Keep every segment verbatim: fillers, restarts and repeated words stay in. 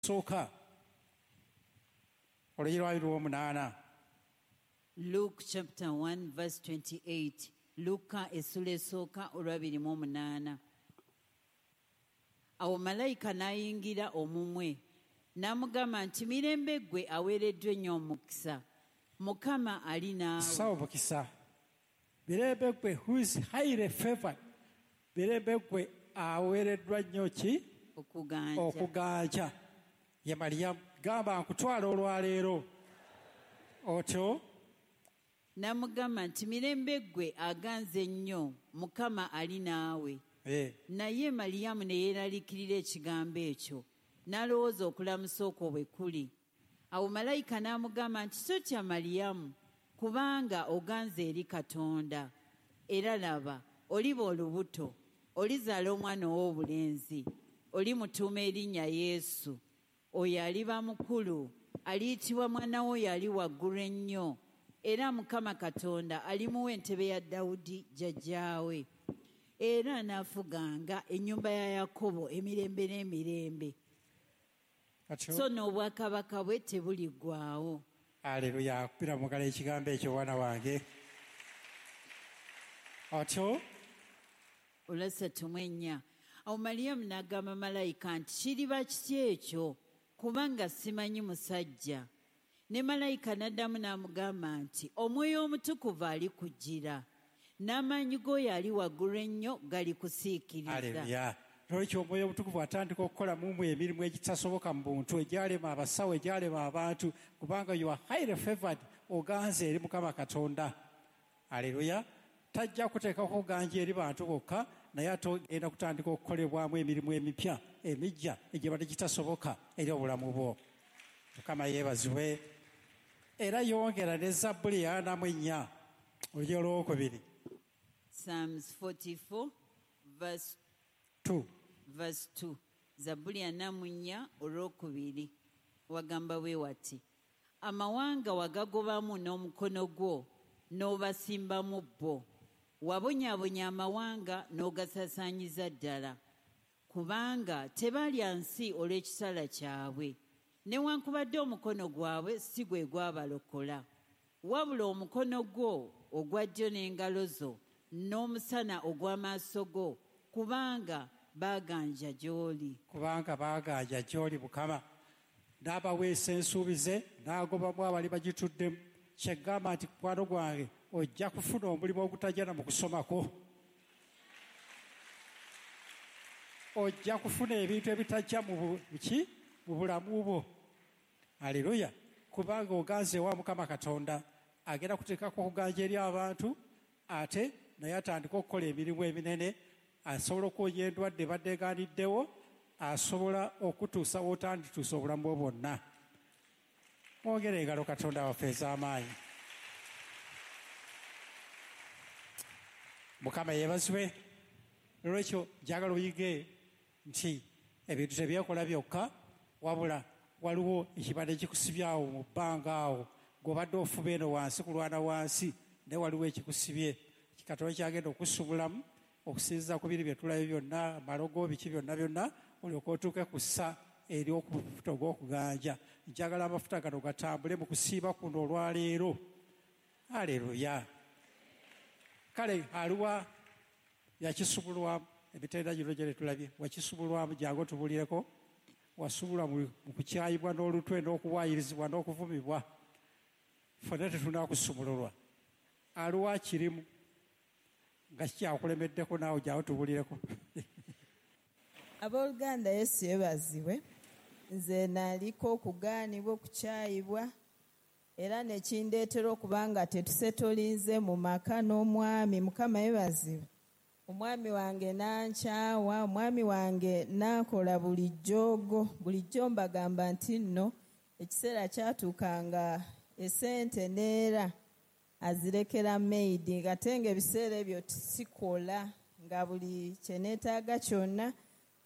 Sooka olunyiriri lwa abiri mu omunaana. Luke chapter one verse twenty-eight. Luka essula esooka olw'abiri mu omunaana. Awo malayika n'ayingira omumwe n'amugamba nti mirembe ggwe aweereddwa ennyo omukisa, Mukama ali naawe. Ssa omukisa. Mirembe ggwe who is highly favored. Mirembe ggwe aweereddwa nnyo ki? Okuganja. Okuganja. Ye Mariyamu, gamba nkutwala olwaleero. Otyo? N'amugamba nti mirembe ggwe aganze ennyo, Mukama ali naawe. Eh. Naye Mariyamu ne yeeraliikirira ekigambo ekyo, n'alowooza okulamusa okwo bwe kuli. Awo malayika n'amugamba nti totya Mariyamu, kubanga oganze eri Katonda. Era laba, oliba olubuto, olizaala omwana ow'obulenzi, olimutuuma erinnya Yesu. Oyo aliba mukulu, aliyitibwa mwana w'oyo ali waggulu ennyo. Era Mukama Katonda alimuwa entebe ya Dawudi jjajjaawe. Era anaafuganga ennyumba ya Yakobo emirembe n'emirembe. Atyo. So n'obwakabaka bwe tebuliggwaawo. Aleluya, akubira mu ngalo ekigambo ekyo mwana wange. Atyo. Olwasatu mu ennya. Awo Mariyamu n'agamba malayika nti kiriba kitya ekyo, kubanga simanyi musajja. Ne malayika n'addamu n'amugamba nti Omwoyo Omutukuvu alikujjira, n'amaanyi g'oyo ali waggulu ennyo galikusiikiriza. Aleluya. N'olwekyo Omwoyo Omutukuvu atandika okukola mu mmwe emirimu egitasoboka mu buntu, egyalema abasawo, egyalema abantu, kubanga you are highly favored, oganze eri Mukama Katonda. Aleluya. Tajja kuteekako kuganja eri bantu bokka, naye ate ogenda kutandika okukolebwamu emirimu emipya, emijja, egibadde gitasoboka eri obulamu bwo. Mukama yeebazibwe. Era yongera ne Zabbuli ya ana mu ennya, olunyiriri olwokubiri. Psalms forty-four, verse two. Verse two. Zabbuli ana mu nnya olwokubiri. Wagamba bwe wati, amawanga wagagobamu n'omukono gwo, n'obasimbamu bo. Wabonyaabonya amawanga n'ogasaasaanyiza ddala, kubanga tebalya nsi olw'ekitala kyabwe, newankubadde omukono gwabwe si gwe gwabalokola, wabula omukono gwo ogwa ddyo n'engalo zo n'omusana ogw'amaaso go, kubanga baaganja gy'oli. Kubanga baaganja gy'oli Mukama. N'abaweesa ensuubize, n'agobamu abali bagituddemu. Kyegamba nti mukwano gwange ojja kufuna omulimu ogutajja na mu kusomako. Ojja kufuna ebintu ebitajja mu bu-, ki? Mu bulamu bwo. Aleluya. Kubanga oganze wa Mukama Katonda, agenda kuteekako okuganja eri abantu, ate naye atandika okukola emirimu eminene, asobola okwonya endwadde ebadde egaaniddewo, asobola okutuusa w'otandituusa obulamu bwo bwonna. Mwongere engalo Katonda waffe ez'amaanyi. Mukama yeebazibwe. Nolwekyo njagala oyige nti ebintu tebyekola byokka, wabula waliwo ekibadde kikusibye awo mu bbanga awo, gw'obadde ofuba eno wansi kulwana wansi, naye waliwo ekikusibye. Katonda kyagenda okusubulamu okusinziira ku biri bye tulabye byonna, amalogo, biki byonna byonna, olyoke otuuke ku ssa ery'okufuta ogw'okuganja. Njagala amafuta gano gatambule mu kusiiba kuno olwaleero. Aleluya. Kale aliwa yakisubulwamu, emitendera gino gye tulabye, wakisubulwamu, jangu otubulireko. Wasubulwa mu, mu kukyayibwa n'olutwe n'okuwaayirizibwa n'okuvumibwa. Ffenna tetunaakusumululwa. Aliwa kirimu nga kikyakulemeddeko, naawe jangu otubulireko. Abooluganda, Yesu yeebazibwe. Nze naliko okugaanibwa, okukyayibwa, era ne kindeetera okuba nga tetusetolinze mu maka n'omwami. Mukama yeebazibwe. Omwami wange n'ankyawa, omwami wange n'akola buli jjoogo. Bulijjo mbagamba nti nno ekiseera kyatuukanga essente neera azirekera maid, ate ng'ebiseera ebyo sikola, nga buli kye neetaaga kyonna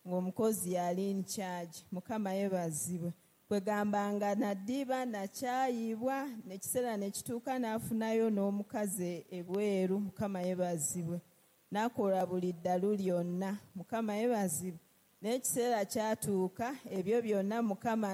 ng'omukozi yali in charge. Mukama yeebazibwe. Kwegamba nga naddiba, nakyayibwa, n'ekiseera ne kituuka n'afunayo n'omukazi ebweru. Mukama yeebazibwe. N'akola buli ddalu lyonna. Mukama yeebazibwe. Naye ekiseera kyatuuka, ebyo byonna Mukama